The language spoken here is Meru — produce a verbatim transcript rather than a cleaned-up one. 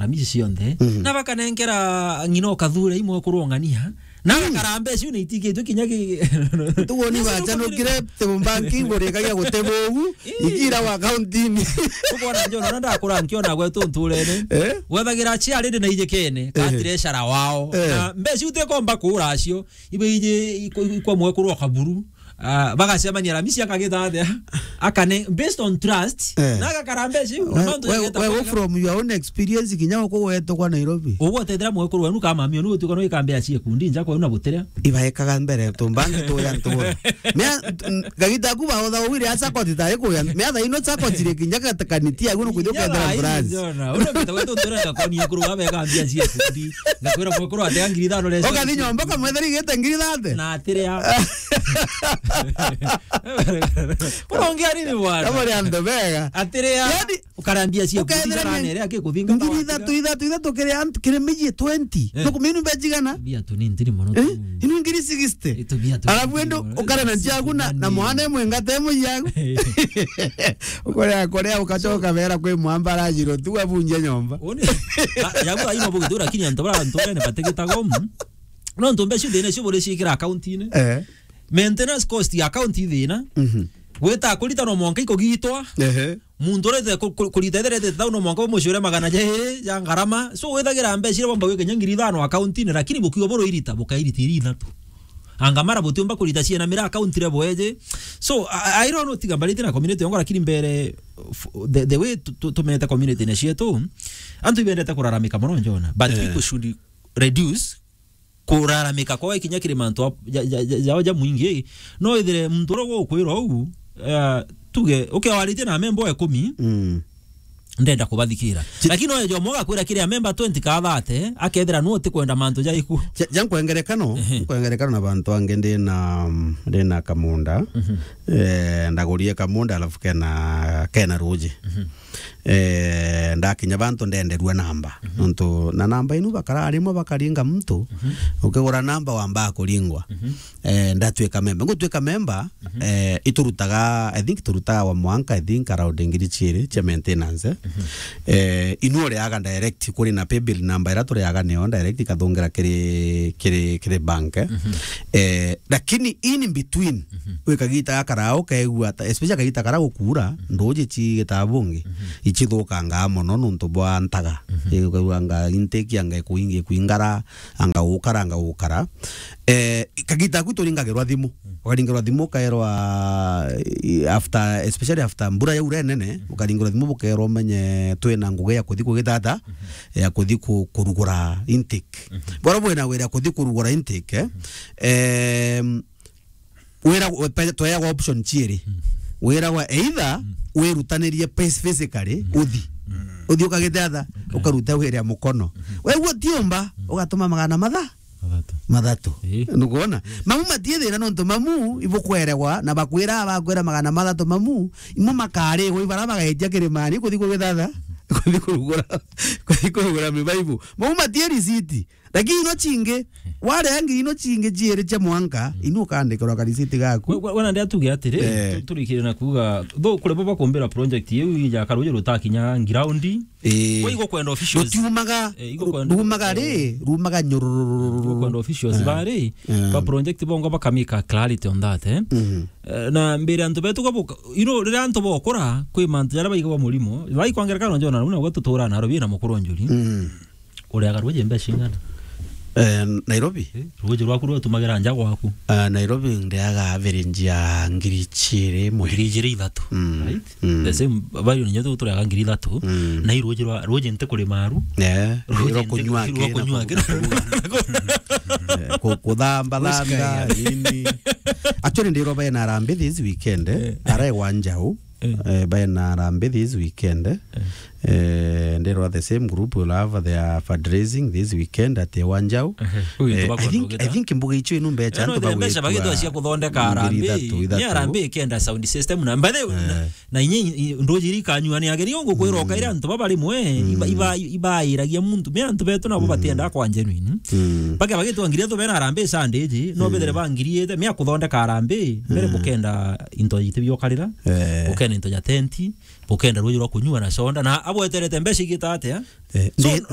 Miji cionthe. Mhm. Na bakanenkera ng'ina o Kathure imwe kurung'ania. Na Mm. gakara mbeca iu ni itigitwe kinya ki- Tuguo ni Yesu bacha nukumire- nukire te banki ngurikagia gute bugu, Ii. igira wa account-ini. Ukwona Njona, ona ndakura nkiona gwetu nturene. Eh? Gwethagira aciari ndi na ijikene, ka Eh. treasurer wao. Eh. Na mbeca iu tekomba kuura acio. Ibe iji iko-, iko mwe kurwa kaburu. Ah, bagacemania Ramisi akagita atia? Akane, based on trust, Eh. na agakara mbeca iu, We, nontu we, yageta we, kwega. From your own experience, kinya uku wetwa kwa Nairobi. Uguo tethira mwekuru wenu kama mio, ni utuka no ikambe acie kundi nja kwa una butere. Ibaekaga mbere, tumbangi tuya ntura. Mea, n-, gagita ku baotha wire asa koti tari kuya. Mea tha ino sa koti ri kinya gatakanitia, guno kuthio Kinya kethira thaa ino France. Njona, una mita wetu ntura ngakoni ekuru babe kambia acie kundi. Ngakwira mwekuru atia ngiri ithano resi. Ukathi nyomba kamwetheri gete ngiri thate. Na atiria. Unaongea nini bwana? Kama ni andu bega. Atiria. Yani, ukarambia cia ukethira kuthingana ni nere akikuthinga ngiri ithatu, ithatu, ithatu kiri antu, kiri miji twenty. Eh. Nukuminu mbe jigana? Bia tu ni ntiri mono. Eh? Inu ngiri sixty. Itu bia tu. Alafu endo ukare na njagu na, na mwana emwe ngate emwe yagu. Ukorea, korea ukachoka bera kwi mwamba rajiro tu abunje nyomba. Uni, ya, yagu aino bugitu, lakini antu bara, antu bene bategetaga umu. No ntu mbeca iu thina icio buri ciikira account-ini. Eh. Maintenance cost ya account i thina. Mhm. Gwita kurita no mwanka ikugitwa. Ehe. Muntu urete ku-, ku-, kurita etherete tau no mwanka umucure magana jairi ja ngarama. So withagira mbeca iria bomba gwika kinya ngiri ithano account-ini, lakini bukiuga buru irita, bukairita iri ithatu. Anga mara butiumba kurita ciena mira account ire bweje. So, I, I don't know, tiga mbarite na community yongo, lakini mbere, f-, the, the way tu-, tu-, tumenete community-ini cietu, antu ibendete kuraramika mono Njona. But Eh. people should reduce kuraramika kwao ikinya kiri mantu a-, ja, ja, ja, jao ja mwingi. No ithire muntu uria gukwira uu, eh, tuge, ukiwaritie na memba ikumi, Mm. ndenda kubathikira. Ti- Lakini no ejo mwaga kwira kiri a memba twenty ka thirty, akethira nu utikwenda mantu jaiku. Ja, ja nkwengerekano, Ehe. nkwengerekano na bantu angi ndi na, ndi na kamunda. Mhm. Eh, ndagurie kamunda alafu kena, kena ruji. Mhm. Eh, ndakinya bantu ndenderua namba. Mhm. Nontu na namba inu bakara rimwe bakaringa muntu, Mhm. ukigura namba wambaa kuringwa. Mhm. Eh, ndatwika memba. Ngutwika memba, Mhm. eh, iturutaga, I think turutaga wa mwanka, I think around ngiri ciiri cia maintenance. Mhm. Eh, inu uriaga direct kuri na paybill namba ira turiaga nio direct ikathungira kiri, kiri, kiri bank. Mhm. Eh, lakini in between, Mhm. wikagita gakara ukaigua ta, especially kagita kara gukura, Mhm. nduji cigitaga bungi, Mhm. icithukangaa mono nontu bwa ntaga. Mhm. Ikaigua anga intake anga ikuingi kuingara, anga gukara, anga gukara. Eh, kagita aku turingagirwa thimu. Mm. Ukaringirwa thimu ukaerwa, eh, after, especially after mbura yaura nene, Mm. ukaringirwa thimu bukaerwa umenye twina ngugi ya kuthi kugitata, Mhm. ya kuthi ku-, kurugura intake. Mhm. Bora bwina wira kuthi kurugura intake, eh, Mhm. em, wira we-, pe-, tweagwa option ciiri. Mm. Wiragwa either Mm. wirutanirie pes-, physically, Mm. uthi. Mm. Uthi ukagitata, Okay. ukaruta wira ya mukono. Mhm. Wegua tiumba, Mm. ugatuma magana matha? Mathatu. Mathatu. Ii. Nukwona? Mamu matie thina nontu mamu ibukweregwa na bakwira, bakwira magana mathatu mamu, imo makarigwa ibara bagaitia kirimani kuthi kugithatha, kuthi kurugura, kuthi kurugura mibaibu. Mamu matie risiti. Lakini ino cingi, waria ngiri ino cingi ciiri cia mwanka, inu ukandikirwa karisiti gaku. We, we, wena ndia tuge atiri, Eh. tu-, turikire na kuuga, tho kuri bo bakumbira project iu ija karuji rutakinya ground, Ii. Kwa igo kwenda officials. Rutiumaga, Eh, igo ru-, kwenda rumaga ri, rumaga nyururururu. Igo kwenda officials Eh. bari, Eh. ba project bongo bakamika clarity on that, eh. Mhm. Eh, na mbere antu betu gabuka, you know, riria antu bokura, kwi mantu jaria baigagwa murimo, bai kwa ngerekano Njona, na uguo tutura na Nairobi na mukuru njuri. Mhm. Uriaga ruji mbeca ing'ana? Eh, Nairobi? Eh, ruji rwaku rwatumagira nja gwaku? Ah, Nairobi ndiaga average ya ngiri ciiri imwe. Ngiri ijiri ithatu. Mm. Right? Mm. The same value ninyo tu turiaga ngiri ithatu. Mm. Na i ruji rwa, ruji nti kurima aru. Eh, ruji rwa nti kunywa rwa aki, kunywa na aki. Ku-, ku-, ku-, eh, ku-, kuthamba Whisky thamba, ya. Nini. Actually, ndirwa baina Harambee this weekend, eh. Eh. Aregwa Njau. Eh. Eh, baina Harambee this weekend, eh. Eh. Eh, ndirwa the same group will have their fundraising this weekend at Ewa Njau. Ehe. Ui, eh, I think, I think mbuga icio inu mbecha, eh, no, antu bagwitwa mbecha bagitwa cia kuthondeka ngiri Harambee. Ithatu, ithatu. Ni Harambee ikenda sound system na, by the way, eh. Na, na inye, i-, nduji iri kanyua ni ageri ungu kwira, mm, ukaira antu baba rimwe, mm, iba, iba, ibairagia muntu. Me antu betu nabo, mm, batienda kwa genuine. Mm. Bake bagitwa ngiri ithatu bena Harambee Sunday iji, no, mm, bethire bangiriite, me akuthondeka Harambee, mbere, mm, bukenda into iti biokarira, eh, bukenda into ja tenti, bukenda ruji rwa kunyua na soda, na abweterete mbeca igita atia? Eh, so, ndi-,